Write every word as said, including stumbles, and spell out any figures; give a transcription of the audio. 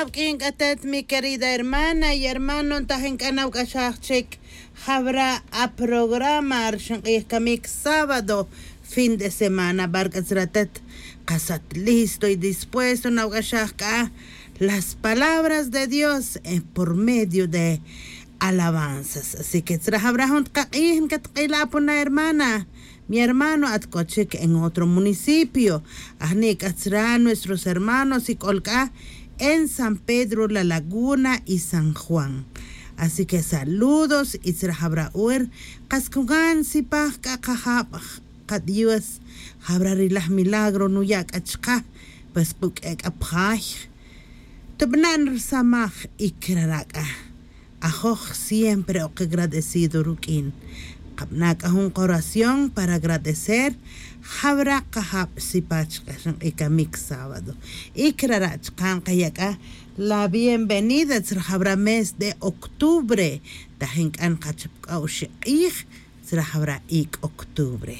Awq'uin k'atet mi querida hermana y hermano ntajin k'a nawk'axaj chic jawra' aprograma rixin q'ij camic sábado, fin de semana barc'a tzra tet. Kasat listo y dispuesto nawk'axaj k'a las palabras de dios por medio de alabanzas. Así que tzra jawra' jun tkaq'ij nkatk'ila' apuna hermana, mi hermano at k'o chic en otro municipio. Ajni' k'a tzra nuestros hermanos y k'ol k'a en san pedro la laguna y san juan. Así que saludos y tzra jawra' wer. Kas kugan sipaj k'a kajab' kadios. Jawra' ri laj milagro nuya' k'a chaqe. Pues quk'e' k'a pjay tubana' nrisamaj y kirara' k'a ajoj siempre ok agradecido ruk'in. Qabana' k'a jun qoración para agradecer jawra' kajab' sipach q'axan q'ikamic sábado. Y kirara' chaqan qaya' k'a la bienvenida tzra jawra' mes de octubre. Tajin k'a nqachap k'a oxi' q'ij tzra jawra' ic' octubre.